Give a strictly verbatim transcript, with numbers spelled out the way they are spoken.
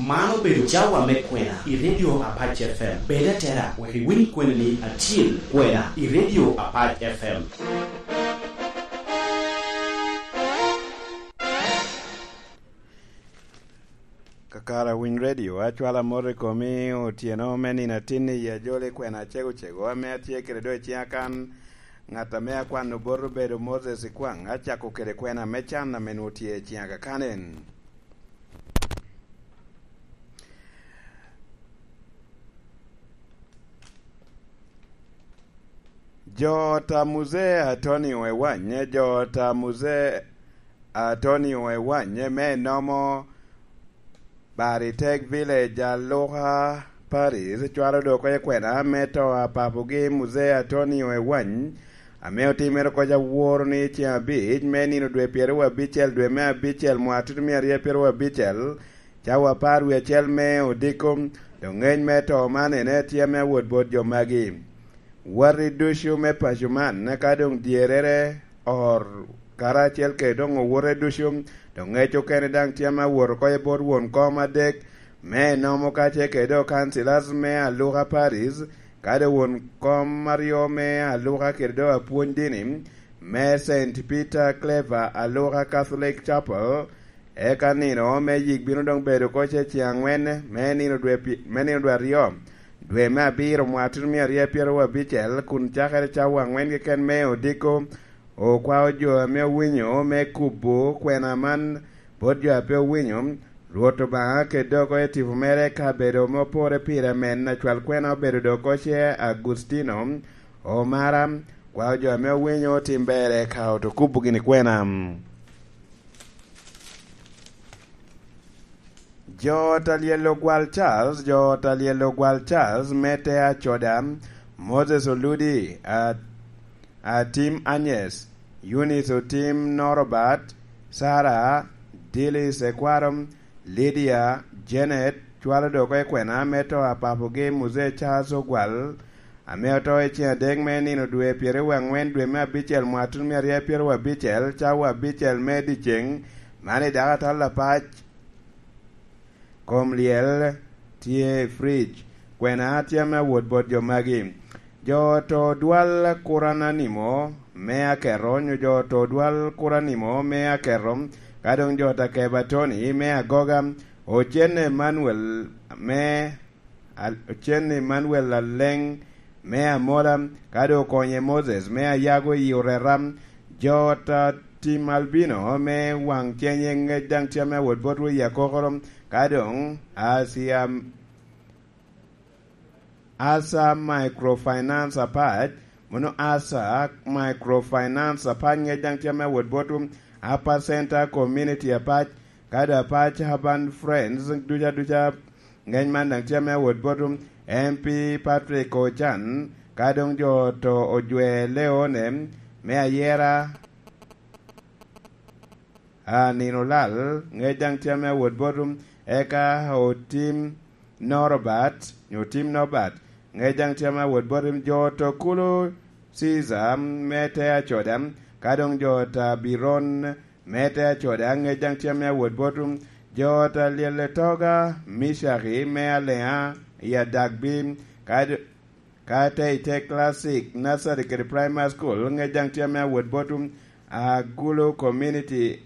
Man obedo cawa me kwena i Radio Apac F M. Bed atera wek iwiny kweni ni atyel kwena i Radio Apac F M. Kakara Winy Radio, acwala mot i komi otyeno me nino atin i ajoli kwena acego-cego ame atye kede do i ciŋa kan. Ŋat ame akwano bot obedo Moses Ikwaŋ, acako kede kwena me can ame nwoŋo tye i ciŋa kakan en. Jo ot a Muzee Atonio Ewany, jo ot a Muzee Atonio Ewany me nomo Baritek Village, Aluka Paris, cwalo dok oko i kwena me to a papogi Muzee Atonio Ewany, ame otimere oko aworo ni ceŋ abic me nino dwe pyeraryo abicel dwe me abicel mwaka tutumia aryo pyeraryo abicel, cawa apar wie acel me odiko. Dok ŋec me to man ene tye ame awot bot jo magi. Watti ducu me paco man, ka doŋ dyerrere, ot, karacel kede doŋ owote ducu, doŋ ŋec okene daŋ tye ame awot oko i bot won kom adek, me enomo kacel kede doŋ councillors me Aluka Paris, kadi won kom aryo me Aluka kede doŋ apwony dini, me Saint Peter Claver Aluka Catholic Chapel, eka nino me yik bino doŋ bedo oko ce ceŋ aŋwen me nino dwe pi-, me nino dwe aryo, dwe me abiro mwaka tutumia aryo pyeraryo abicel, kun cakere cawa aŋwen keken me odiko. Okwao jo ame owinyo me kubo kwena man bot jo a pe owinyo. Rwot Obaŋa kede oko i tipo mere ka bedo ame opore pire amen, acwal kwena obedo dok oko ce Agustino Omara, kwao jo ame owinyo otim berre ka oto kubo gini kwena. Jo ot a lyel Ogwal Charles, jo ot a lyel Ogwal Charles, me te Acoda, Moses Oludi, a-, Atim Agnes, Eunice Otim Norobert, Sarah, Dillis Ekwaro, Lydia, Janet, cwalo dok oko i kwena me to a papogi Muzee Charles Ogwal, ame oto i ceŋ adek me nino dwe pyeraryo aŋwen dwe me abicel mwaka tutumia aryo pyeraryo abicel, cawa abicel me dyeceŋ, man i dako atal apac. Kom lyel tye i fridge. Kwena tye ame awot bot jo magi. Jo oto dwal Kurananimo me Akerro, onyo jo oto dwal Kuranimo me Akerro, ka doŋ jo Takeba Tony me Agoga, Ocen Emmanuel me Al-, Ocen Emmanuel Aleng me Amola, ka doŋ Okonye Moses me Ayago i Orera, jo ot a Tim Albino me Waŋ Cenye ŋec daŋ tye ame awot bot Wei Akokoro, ka doŋ Asia, Asa Microfinance Apac, mono Asa Microfinance Apac ŋec daŋ tye ame awot bot Upper Center Community Apac, ka doŋ Apac Urban Friends duca duca. Ŋec man daŋ tye ame awot bot M P Patrick Ocan, ka doŋ jo oto ojwe Leone me Ayera, a, nino lal, ŋec daŋ tye ame awot bot, eka Otim Norobert, nyo Otim Norbert, ŋec daŋ tye ame awot bot, jo oto Kulu Caesar me te Acoda, ka doŋ jo oto Abiron me te Acoda, ŋec daŋ tye ame awot bot, jo oto Alyel Etoga, Mishaki me Alea i Adagbi, ka d-, ka te i te Classic Nursery kede Primary School, ŋec daŋ tye ame awot bot, Agulu Community